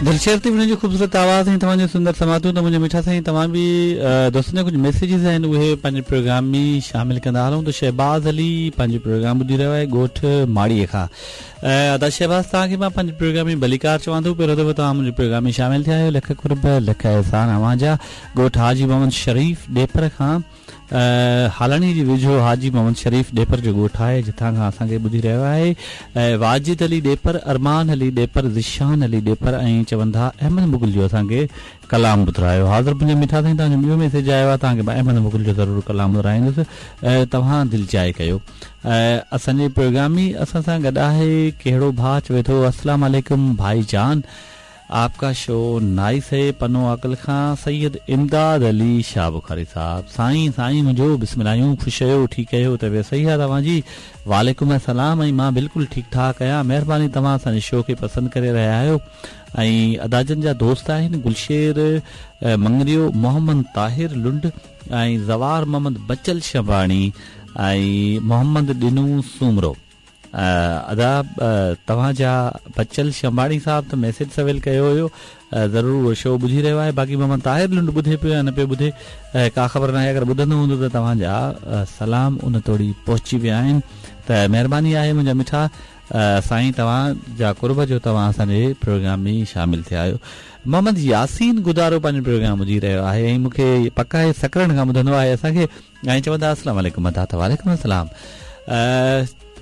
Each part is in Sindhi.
دلشير تي هن جو خوبصورت آواز ۽ توهان جون سندر سماعتون ته منهنجا مٺا سائين توهان به دوستن جا ڪجهه ميسيجز آهن اهي پنهنجي پروگرام ۾ شامل ڪندا هلون ته شهباز علي پنهنجو پروگرام ٻڌي رهيو آهي ڳوٺ ماڙي کان ادا شهباز توهان کي مان پنهنجي پروگرام ۾ ڀليڪار چوان ٿو پهريون دفعو توهان منهنجي پروگرام ۾ شامل ٿيا آهيو لک قرب لک احسان اوهان جا ڳوٺ حاجي محمد شريف ڏيپر کان هالاڻي جي ويجهو حاجي محمد شريف ڏيپر جو ڳوٺ آهي جتان کان اسان کي ٻڌي رهيو آهي واجد علي ڏيپر، ارمان علي ڏيپر، ذيشان علي ڏيپر ۽ چون ٿا احمد مغل جو اسان کي ڪلام ٻڌرايو. حاضر منهنجا مٺا سائين توهان جو ٻيو ميسيج آيو آهي توهان کي مان احمد مغل جو ضرور ڪلام ٻڌرائيندس توهان دلجاء ڪيو. اسان جي پروگرام ۾ اسان سان گڏ آهي کهڙو ڀاء چوي ٿو السلام عليڪم ڀائي جان آپ ڪا شو نائس هي پنو عاقل کان سيد امداد علي شاهه بخاري صاحب سائين سائين منهنجو بسم الله آهيون خوش آهيو ٺيڪ آهيو طبيعت صحيح آهي توهان جي وعليڪم السلام ۽ مان بلڪل ٺيڪ ٺاڪ آهيان مهرباني توهان اسان جي شو کي پسند ڪري رهيا آهيو ۽ ادا جن جا دوست آهن گلشير مڱريو محمد طاهر لنڊ ۽ زوار محمد بچل شنباڻي ۽ محمد ڏنو سومرو ادا توهان جا بچل شنباڻي صاحب ته ميسيج سويل ڪيو هيو ضرور اهو شو ٻڌي رهيو آهي باقي محمد طاهر لنڊ ٻڌي پيو يا نه پيو ٻڌي ڪا خبر ناهي اگر ٻڌندو هوندو ته توهان جا سلام ان توڙي پهچي ويا آهن ته مهرباني آهي منهنجا مٺا سائين توهان جا قرب جو توهان اسان جي پروگرام ۾ شامل ٿيا آهيو محمد ياسين گدارو پنهنجو پروگرام ٻڌي رهيو آهي ۽ مون کي پڪ آهي سڪرنڊ کان ٻڌندو آهي اسان کي ۽ چوندا السلام عليڪم ادا ته وعليڪم السلام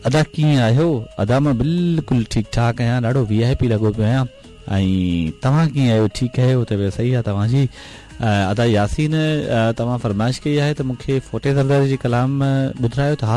ادا ڪيئن آهيو ادا مان بلڪل ٺيڪ ٺاڪ آهيان ڏاڍو وي آء پي لڳو پيو آهيان ۽ توهان ڪيئن آهيو ٺيڪ آهيو طبيعت صحيح آهي توهان جي ادا ياسين توهان فرمائش ڪئي آهي ته مون کي فوٽي زرداري جي ڪلام ٻڌرايو ته حاضر.